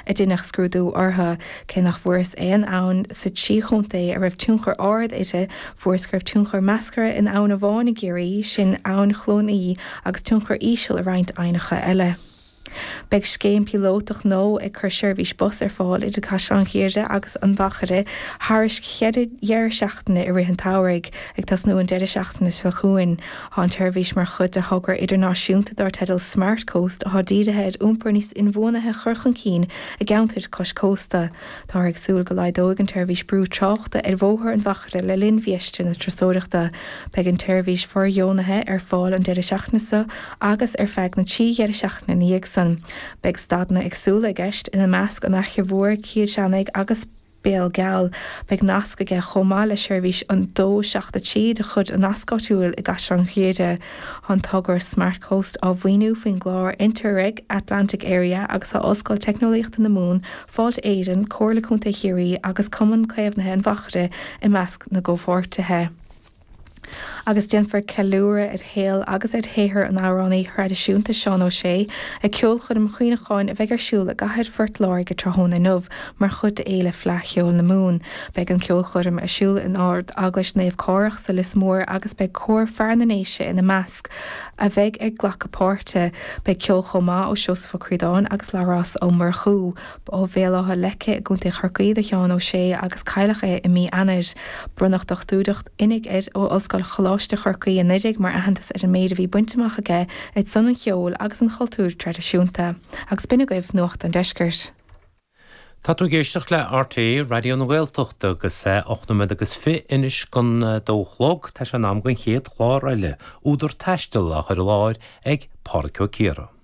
A deineadh scrúdú orthu. Cé nach bhfuarthas aon abhainn sa trí chontae a raibh tionchar ard uirthi, fuarthas go raibh tionchar measartha in abhainn amháin i gCiarraí, sin Abhainn Chluain Í, agus tionchar íseal i roinnt aibhneacha eile. Beidh scéim píolótach nua ag cur seirbhís bus ar fáil idir Caisleán Ghriaire agus an Mhachaire thairis cheithre dheireadh seachtaine i rith an tsamhraidh, ag tosnú an deireadh seachtaine seo chugainn. Tá an tseirbhís mar chuid de thogra idirnáisiúnta dar teideal Smart Coast atá dírithe ar iompar níos inbhuanaithe a chur chun cinn i gceantair cois cósta. Táthar ag súil go laghdóidh an tseirbhís brú tráchta ar Bhóthar an Mhachaire le linn mhiosúr na turasóireachta. Beidh an tseirbhís fóirdheonaithe ar fáil an deireadh seachtaine seo agus ar feadh na dtrí dheireadh seachtaine ina dhiaidh san. Beidh stadanna éagsúla i gceist, ina measc an Fhaiche Mhór, Cill Chainnigh agus. Béal Geal. Beidh nasc aige chomh maith le seirbhís an 2 7 3 de chuid an Nasc Áitiúil i gCaisleán Ghriaire. Tá an togra Smart Coast á mhaoiniú faoin gclár Interreg Atlantic Area agus tá Ollscoil Teicneolaíochta na Mumhan, Fáilte Éireann, Comhairle Contae Chiarraí agus Cumann Caomhnaithe an Mhachaire i measc na gcomhpháirtithe. Agus déanfar ceiliúradh ar shaol agus ar shaothar an amhránaí thraidisiúnta Seán Ó Sé ag ceolchoirm chuimhneacháin a bheidh ar siúl i gcathair Phort Láirge tráthnóna inniu mar chuid d'Fhéile Fleadh Cheoil na Mumhan. Beidh an ceolchoirm ar siúl in Ard-Eaglais Naomh Cárthach sa Lios Mór agus beidh Cór Fear na nDéise ina measc a bheidh ag glacadh páirte. Beidh ceol chomh maith ó Seosamh Ó Críodáin agus Labhrás Ó Murchú. Ba ó Bhéal Átha Leice i gContae Chorcaí do Sheán Ó Sé agus cailleadh é i mí Eanáir. Bronnadh Dochtúireacht Oinigh air ó Ollscoil Choláiste Chorcaí anuraidh mar aitheantas ar an méid a bhí bainte amach aige ar son an cheoil agus an chultúir traidisiúnta. Agus b'in agaibh Nuacht an Deiscirt. Tá tú ag éisteacht le RTÉ Raidió na Gaeltachta agus é 8 nóiméad agus 20 anois don dó a chlog. Tá sé in am don chéad chlár eile, Údar Taistil, á chur i láthair ag Pádraic Ó Ciardha.